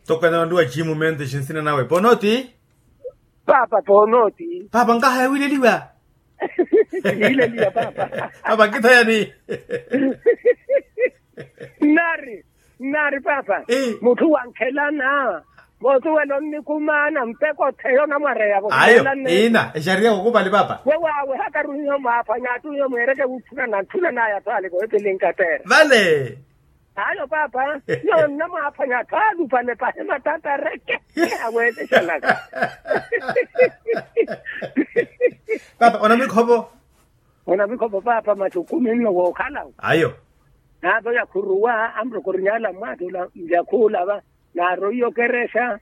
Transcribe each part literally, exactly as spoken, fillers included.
Toko ena onduwa chimu mente xinsina nawe ponoti. Papa ponoti. Papa nkahaya wileliwa. Wileliwa papa. Papa nkithayani. Nari nari papa. Mutthu wankhelana. Votuwela onnikumana mpeko theyo namwareyavo ayo. Ina exariya kokupali papa. Wewawe hakaruhiho mwaphwanya attuhiho mwereke wutthuna na nttuna naya twaliko epili nkatera vale. Ayo papa. Nonna mwaphwanya atwalupale pahe matatareke. Aweteselaka. Papa onamikhovo. Onamikhovo papa matthu kumi nno wookhala. Ayo. Naato yakhuruwa amurokorinyala mmwattula njakhuula va. Naaroiya okerexa.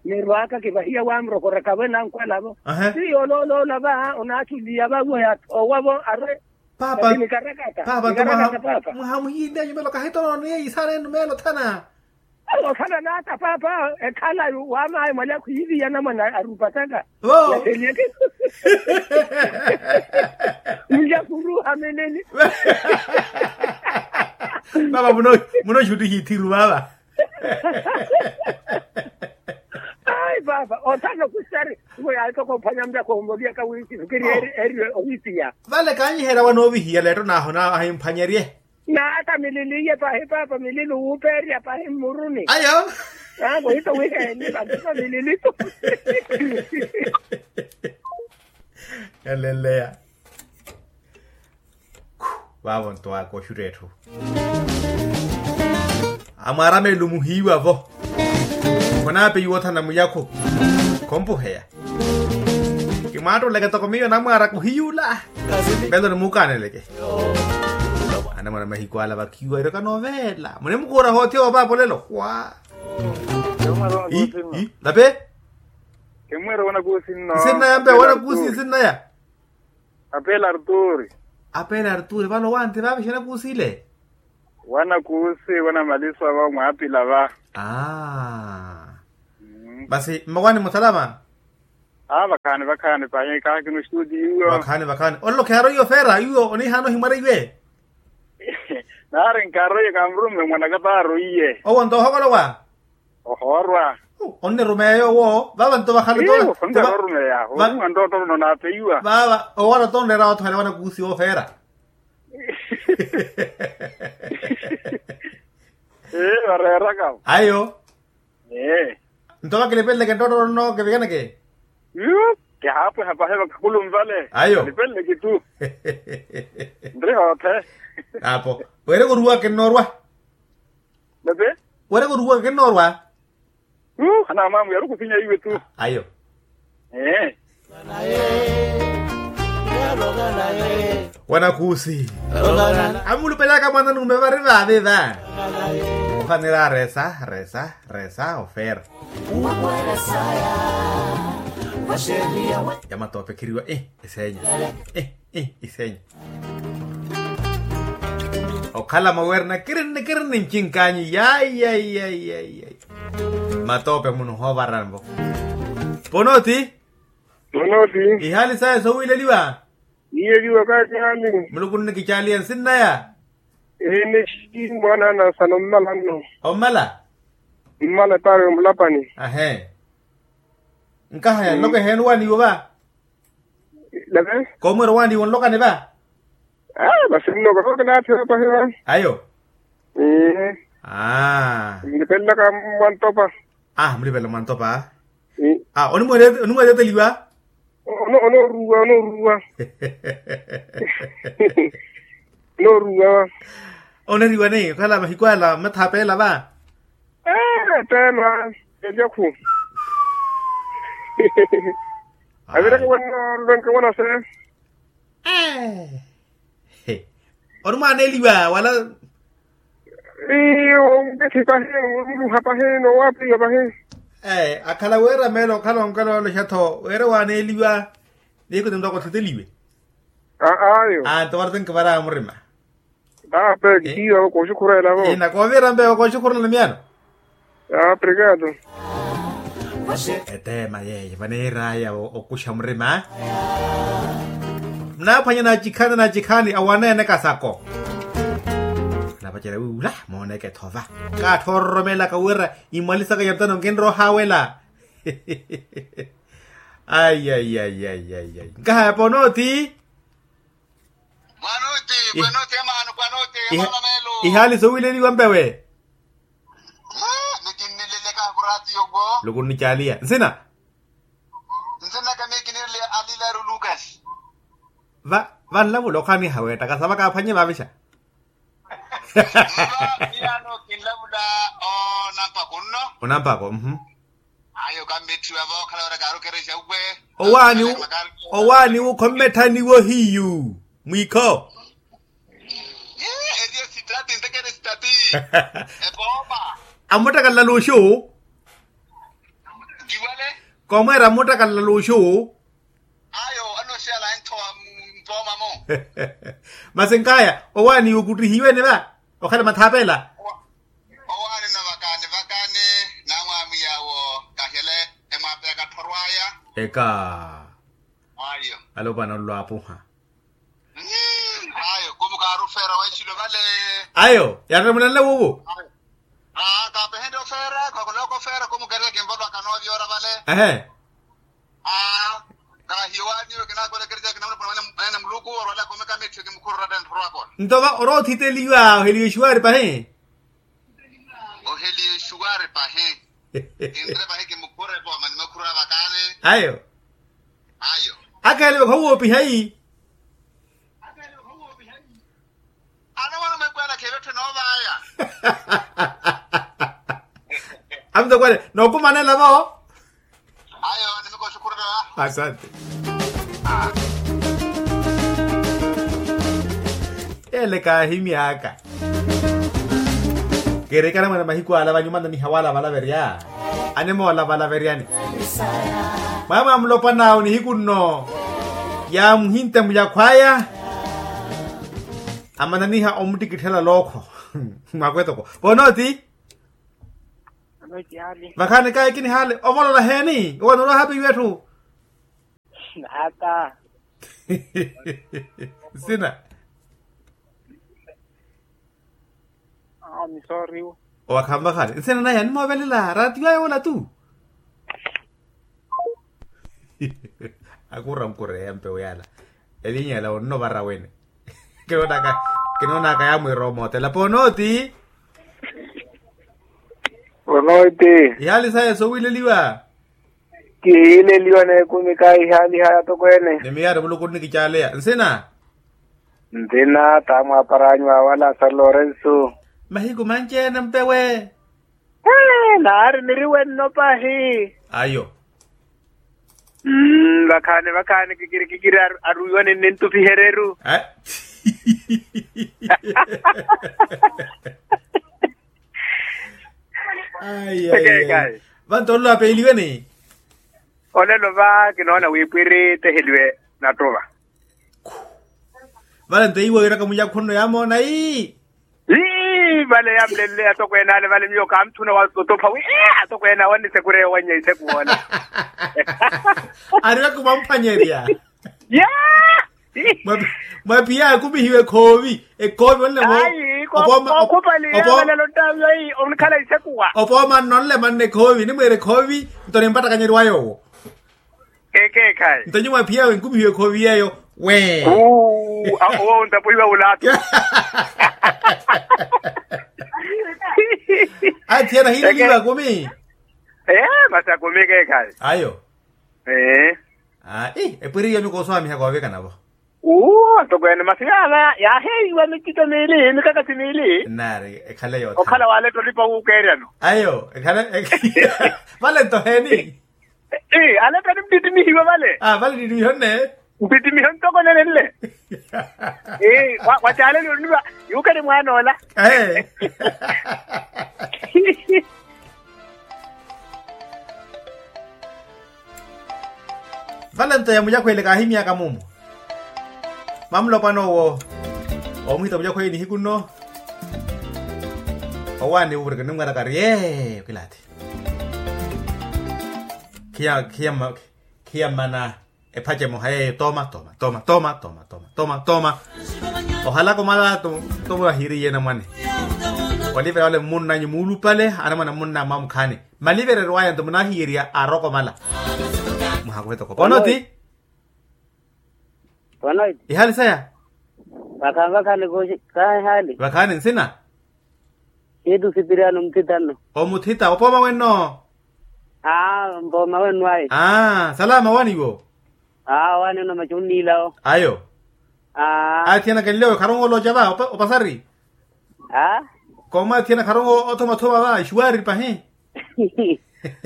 Nirwaka kivahiya wamurokora kave nankwalavo. Ti yoolooloola va onaachuliya vawe athoowavo arwe. Papa. Nikarakata. Papa. Mwahamuhiileya nyumelo kahitonooniye isaana enu meelo thana. Osana naata papa ekhalayu wamaayi mwalya khwiiviya namwana arupataka. Vo. Yaseliyeke. Mulya khuruha meneni. Papa muno muno xuttihi ithiru vava. Ai papa othana okhusitari. Ivo yaari toko ophwanya mutako omoliyaka wiici fikiri eri eri owiipiya. Vale kaanyiherya wanoovihiya letto naaho na ahimphwanyerye. Naata mililiye pahi papa milili wuupeerya pahi mmuruni. Ayo. Aa muhito wiheeni vantino mililitu. Yaleleya. Vaavo ntowaka oxutta etthu. Amwarameli muhiiwa-vo. Khonaapeyiwa othana muyakhu. Khompuheya. Kimwaattooleke toko miyo namwaara kuhiyula. Peloni muukaaneleke. Anamwana mahiku ala vakhiwa iroka noveela muni mukuura hoothiwa opaapa olelo wa. Lape. Nsinnaya mpe wanakuusi nsinnaya. Apele arturi. Apele arturi vale owanti vaavixe anakuusi ile. Wanakuusi wanamaliswa va mwaapila va. Aa. Masi mmakwani musalama. Aa vakhaani vakhaani pahi kaakino xituti iwo. Vakhaani vakhaani olelo kheyaroiye ofeera iwo oniihaana ohimwara iwe. Naari nkaaroiye kaamurumme mwanaka taaroiye. Owo nto ohokolowa. Ohoorwa. Onnirumeya yoowo vava nto vakhale to. Onnirumeya. Oruwa nto otono naapeiwa vava owara to onreera wathuhela wanakuusi ofeera. Ee vareeraka. Ayo. Ee. Nto vakilipeleleke nttootto nno kivikaneke. Yu. Kihaapweha pahe vakhakhulumvale ayo nipeleleke tu. Nri hoothe. Apo. Weereke oruwaka kinnoorwa. Nave. Weereke oruwaka kinnoorwa. Yu. Hanaamwamwiya ari okhusinya iwe tu. Ayo. Ee. Wanakuusi. Amulupelaka mwana nume vari vaavi va. Ohanira resa resa resa ofeera. Ya matoope khiriwa. Iseenya. Iseenya. Okhala maweerina kirini kirini ncinkaanyi yai yai yai yai. Matoope munu hoovaranvo. Ponoti. Ponoti. Ihaali saya sowiileliwa. Iye liwa kaakihani. Muluku nnikicaaliya nsinnaya. Eneshi mwaana anasana ommala nno. Ommala. Mmala epaari omulapani. Ahe. Nkahaya nloko eheeni owaaniwa va. Lave. Koomweera owaaniwa onlokani va. Aa masi nno kotooke naathira pahi va. Ayo. Aa. Nipelelaka mwantopa. Aa mulipelela mwantopa. Aa onimweerya eteliwa. Onooruwa onooruwa. Onooruwa. Oneriwa ni okhala mahiku ala mmathaapeela va. Ee eteema. Elyakhu. Avireke wanooruvenke wanase. Ee. Onimwaana eliwa wala. Iyo onkethi pahi. Omuruha pahi nowaapeiwa pahi. Ee akhala weera meelo okhala onkalooloxa-tho weera waaneeliwa. Nihiku tintoko thiteliwe. Aa ayo. Aa nto vale tenkivara murima. Aa peki tiyo kooxukhurela vo. Ina koovira mpe kooxukhurela miyano. Aa obrigado. Eteema yeeyo vaneeraya okuxa murima. Munaaphwanya nacikhani nacikhani awaneene kasako. Na Vacerya wi ula mooneke thova. Kaatthoororomelaka wira imwalisaka ya mutano nkinrohawela. Ai ai ai ai ai ai nkahaya ponoti. Pwanoti pwanoti amaano pwanoti. Amaano meelo. Ihaali sowileliwa mpewe. Nikinnileleka kuraatiyo kwo. Lukunnicaaliya nsina. Nsina kamikinirle alilaru lukas. Va vanlavula okhaniha weettaka sava kaaphwanye vavixa. Miyano kinlavula onampako nno. Onampako mhm. Ayo kammetthiwa vookhala wira kaarukerexa uwe. Owaani owaaniwo khommetthaniwo hiyu mwiikho. Eriye sitati ntekere sitati. Epooma. Amuttakalla luxu. Kiwale. Komweera amuttakalla luxu. Ayo anoxiyala enthowa mpoomamo. Masi nkaya owaani okuttihiwene va okhala mathaapela. Owaani na vakani vakani namwamwiyawo kahele emwaapeyaka tthorwaya. Eka. Ayo alopwana nlwaapuha. Ayo kumukaarufeera waichilo vale. Ayo yaremulanle wuuwo. Aa kaapehende ofeera khakhulaka ofeera kumukereke nvalwaka noovyoora vale. Ehe. Aa kahiyo waaniwe kinaakolekerya kinamulopona mwanene muluku orwalaka omeka mitthu kimukhurura tentthoro akona. Nto va orothiteliwa oheliwe xuwaari pahi. Oheliye xuwari pahi. Kinre pahi kimukhureko amanimakhura vakale. Ayo. Ayo. Akheelewe khowoopiha yi. Anamwana mwekwela kheevetthwe noovaya. Amutokole nookumanela vo. Ayo nimikoxukhurela. Asante. Ele kaahimyaka. Keerekana mwana mahiku ala vanyuma naniha wala valaverya. Animola valaveryani. Mwaamwa mulopwana awo nihiku nno. Yaamuhinta muyakhwaya. Amananiha omuttikitthela lookho. Mwakwetoko vonoti. Vakhaani kayi kinihaale ovolola heeni owo anulwa haapihiwa etthu. Ata. Nsina. Awo ni sooriwo. Owakhamvakhale nsina naye animoovelela raatiyo ayo ola tu. Akura nkureya mpewo yala elinyela onnovara wene. Kinoonaka kinoonaka yamwiira omootela ponooti. Ponooti. Ihaali saya sowiileliwa. Kihiileliwa n'ekumi kaahihaaliha yatokweene. Ni miyaari muluku nnikicaaleya nsina. Nthina t'amwaapar'anyu awo a lasaro lorensu. Mahiku manci-ene mpewe. Naari niriwe nno pahi. Ayo. Vakhaani vakhaani kikirikikiri aruiwa nintupihereru. Vanto olelo apeeliwe ni. Olelo va kinoona wi pwiri teheliwe nattuva. Vale nto iwo wiraka muyakhunno yamoona ii. Ii vale yamulelele atokweene ale vale miyo kaamutthuna watotopha wi atokweene awo annisekureya owannya isekuwoola. Ariweke mwamphwanyerya. Mwaphiya akumihiwe ekhoovi ekhoovi onle. Ayi kookhupaliya valelo ttaviyo ii onikhala isekuwa. Opooma nnonle manna ekhoovi nimwiira ekhoovi. Nto nimpattakanyeriwa yoowo. Ekeekhayi nto nyuwo aphiyawe nkumihiwe ekhoovi yeeyo. Wee. Owo ontapuhiwa wulaatu. Athiyana hiileliwa akumi. Ee masi akumi ekeekhayi. Ayo. Ee. Epwiri iyo nyuwo kooswamiha koovikana vo. Uwo atokweene masi yaala yaaheeiwa mitito miili mikakasi miili. Nnaari ekhale yoothana okhala waaletta olipa wuukeeryano. Ayo ekhale. Vale nto heeni. Ii aletta nimttittimihiwe vale. Vale nittimihonne. Nttittimiho ntoko nenenle. Ii wacaaleliwe oniva yuukeri mwaan'ola. Vale nto yamuyakhwele kaahimyaka mumu. Mamulopwana owo omuhita muyakhwele nihiku nno. Owaani wureke nimwaraka ari ee okilaati. Khiya khiya mana. Ephace emoha yeeyo toma toma toma toma toma toma toma toma. Ohalaka omala. Tomo ahiiriye namwane. Olivela wale mmunnanyu muulupale anamwane mmunna mwamukhaani. Malivereryo aya nto munaahiiriya aarokomala. Muhakuvetokopa onoti. Ihali saya. Vakhaani nsina. Siitu sipiriano muthita nno. Omuthita opooma wenno. Aa mpooma wenno ayi. Aa salama owaani iwo. Aa owaani nno machu nniilawo. Ayo. Aa athiyanaka nlewe kharongo olooca va opasari. Aa koomwe athiyanaka kharongo othomathoma va ixuwaari pahi.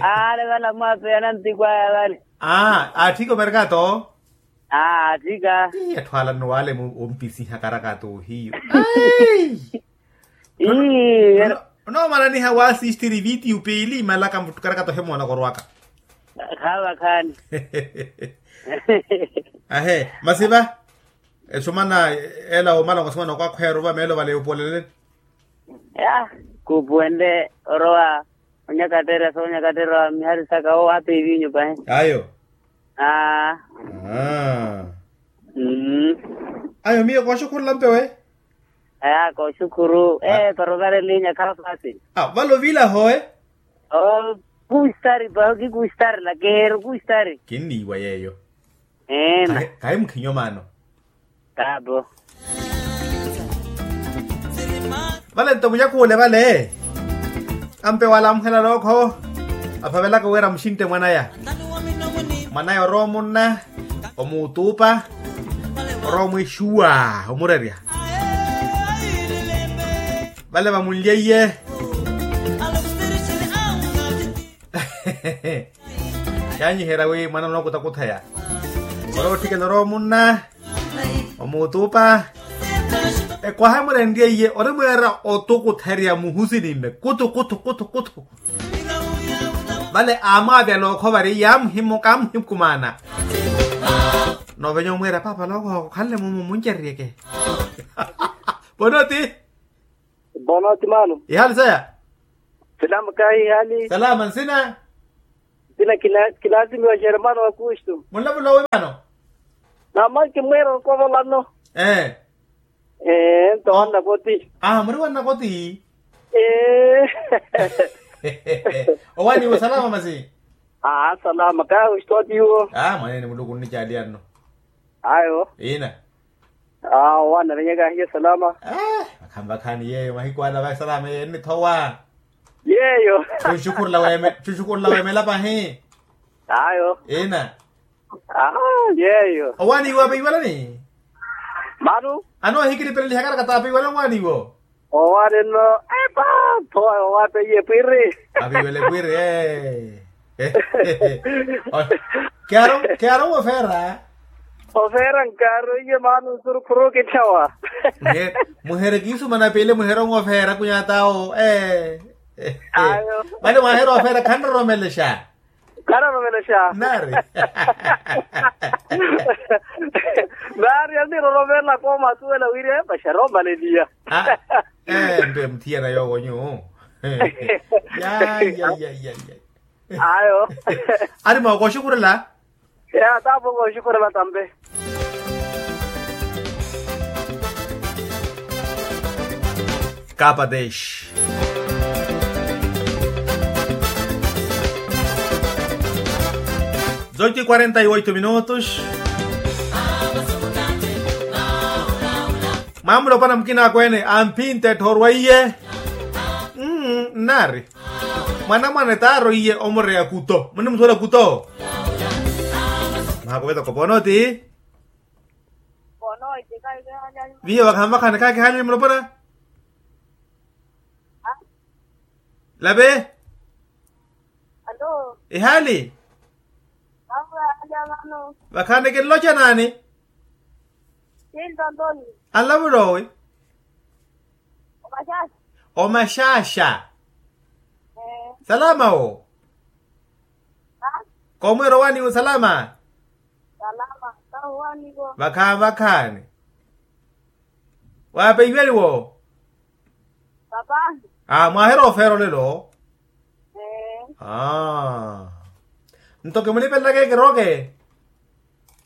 Aale vale amwapeya nantikwaya vale. Aa atthika omerkato. Aa atthika. Atthu ala nno wale ompisiha karakato ohiyu. Onomalaniha waasistiri vitiyu piili imalaka muttu karakato ohemoona korwaka. Khaava khaani. Ahe masi va. Esumana ela omalongo sumana okwakhweya oruva meelo vale yupoleleni. Ya kuupuwenle orowa. Onyakaterya soonyakaterya miharisaka owo ape ivinyu pahi. Ayo. Aa. Ayo miyo kooxukhurula mpewe. Aya kooxukhuru ee parovarelinya khaafasi. Vale ovilaho e. Kustari paho kikustari lakeheru kustari. Kinniiwa yeeyo. Eena. Kahi mukhinyo maano. Taabo. Vale nto muyakuule vale. Ampe wala muhela lookho. Aphavelaka wira muxinte mwanaya. Mwanaya orowa omunna omuutuupa. Orowa omwixuwa omurerya. Vale vamunlyeiye. Yaanyiherya wi mwana onookutakutha ya. Orowa otthikela orowa omunna omuutuupa. Ekwaha emurenrye iye ori mweera otukutherya muhusini mme kutu kutu kutu kutu. Vale aamwaavya lookho vari yaamuhimuka amuhikumaana. Noovenya omwiira paapa lookho okhanle mumu munceryeke. Ponoti. Bono ti maano. Ihali saya. Salama kahi ihali. Salama nsina. Nsina. Kilaasimiwa xeremano wa kustu. Munlavula owi maano. Namanki mwiira okovolano. Ee. Ee nto wannakoti. Aa muri wannakoti. Ee. Owaaniwo salama masi. Aa salama kahi wistoti iwo. Aa mwaneene muluku nnicaaliya nno. Ayo. Ina. Aa owaana venyaka ahiye salama. Vakhaani vakhaani yeeyo mahiku ala vayi salama yeeyo ennithowa. Yeeyo. Chuxukhurula weemela pahi. Ayo. Ina. Aa yeeyo. Owaaniwo apeiwelani. Manu. Anoohikilipelela ihakalaka t'apeiwelani owaaniwo. Owaani nno epa. Thowa owaapeiye pwiri. Aviwele pwiri ee. Kiaro kiaro wofeera. Ofeera nkaaro iye maana nsurukhuru kithawa. Muhere kiisumana piili muhere onwofeera kunyatawo ee. Vale mwahere ofeera khanroromelexa. Khanroromelexa. Nari. Nari aniroromela koomasuwela wiri ee paxari omaleliya. Ee mpe muthiyana yoowo nyu. Yayayayayay. Ayo. Ari mwa kooxukhurela. Ya tapo kooxukhurela tampe. Kapadesh. Zoito e quarenta e oito minutos. Mwamulopwana mukina akweene amphinta etthoorwa iye. Mmm nnaari. Mwanamwane t'aroiye omureya kuto munnimusuwela kuto. Mwaha kuveta kopono ti. Viyo vakhaani vakhaani khaakihali mulopona. Lave. Ihaali. Vakhaani kinloca naani? Anlavula owi? Omaxaxa. Salama wo. Koomweera owaaniwa osalama. Vakhaani vakhaani. Waapeiweliwo. Aa mwaahera ofeera olelo. Aa. Nto kimulipelelaka ekirooke.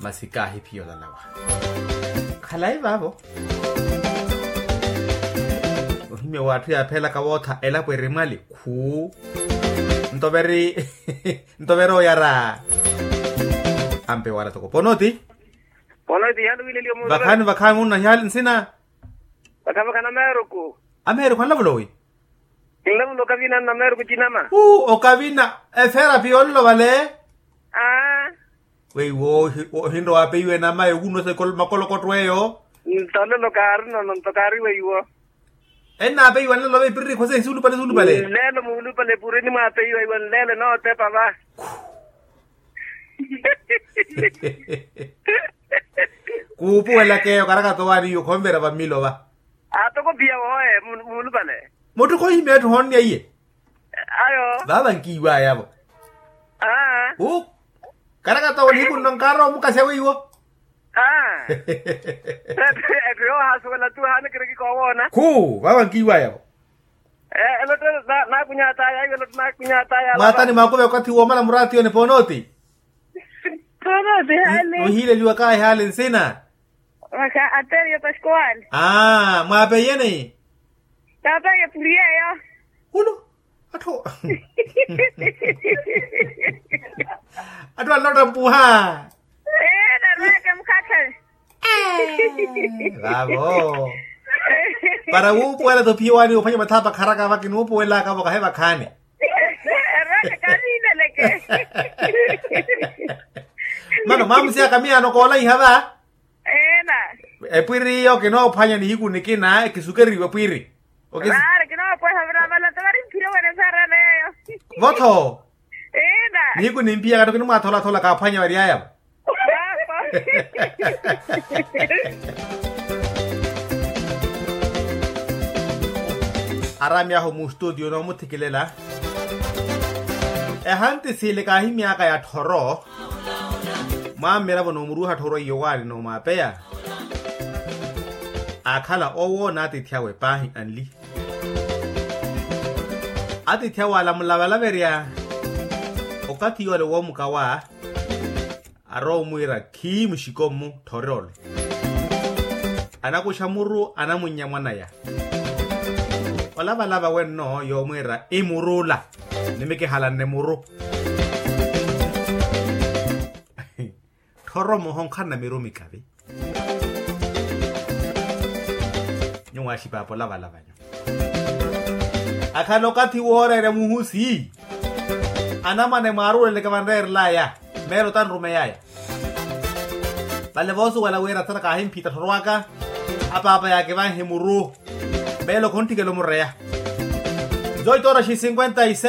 Masi kaahiphiya olalawa. Khalayi vaavo. Ohimya w'atthu yaaphelaka wootha elapo eri mwali khuu. Nto veri nto veri oyara. Ampe wala toko ponoti. Ponoti yaluwileliyo munu. Vakhani vakhani munu na hiyali nsina. Vakhavakha nameeruku. Ameeruku anlavula owi? Kinlavula okavina nameeruku cinama. Uu okavina. Efeera piya onlovale. Aa. Weiwo ohinrowa apeiwe nama ewuno sa makolokoto eyo. Ntololo kaari nono nto kaari weiwo. Ennaapeiwa nlelo va epiriri khosa ehisulupale esulupale. Nlelo muulupale epureni mwaapeiwa iwa nlelo enootepa va. Kuupuwelaka eyo karakata owaani iwe khonvera vammilo va. Atoko piya wooye muulupale. Mutthu khohimya etthu hoonniya iye. Ayo. Vaava nkiiwaayavo. Aa. Karakata wo nihiku nno nkaara omukasya weiwo. Aa. Etthu yoohasuwela tu haana kiriki koowoona. Khu vaava nkiiwaayavo. Elotto naakunyataya iwe elotto naakunyataya. Mwaatani maakuve okathi woomala muraatiyoni poonooti. Poonooti hale. Nuhiileliwa kaahi hale nsina. Maka ateriyo paskowali. Aa mwaapeiye ni. Taapeiye puriyeyo. Uno. Atthu. Atthu anlotta mpuha. Eena rweke mukhakhale. Vaavo. Para wuupuwela tophiwani ophwanya mathaapa kharaka vakinuupuwelaka vo kahe vakhaani. Rweke kaniineleke. Mano mwamusiyaka miyaano koolaiha va. Eena. Epwiri iyo kinoophwanya nihiku nikina ekisukeriwe pwiri. Vaari kinoopweha vira valata vari mphire wene saarana yeeyo. Votho. Eena. Nihiku nimpiyaka tto kinimwatholathola kaaphwanya variyayavo. Araami ahu mustutio noomuthikilela. Ehanti siili kaahimyaka ya tthoro. Mwammiravo noomuruuha tthoro iyo waari noomwapeya. Aakhala owo n'atiithi awe paahi anli. Atiithi awe alamula valaverya. Okathi yoole woomukawa. Arowa omwiira khii muxiko-mmu tthorole. Anakuxa muru anamunnya mwanaya. Olavalava wenno yoomwiira imurula. Nimikihalanne muru. Tthoro muhonkhanna miru mikavi. Nyuwo axipaapo olavalava nyu. Akhala okathi wooreerya muhusi. Anamwane mwaaruleleke vanreerelaya. Meelo tanrumeyaya. Vale voosuwela wira tthara kaahimphita tthoro aka. Apaapa yaakivanhe muru. Meelo khonthikela omureya. Zoito horas e cinquenta e sete.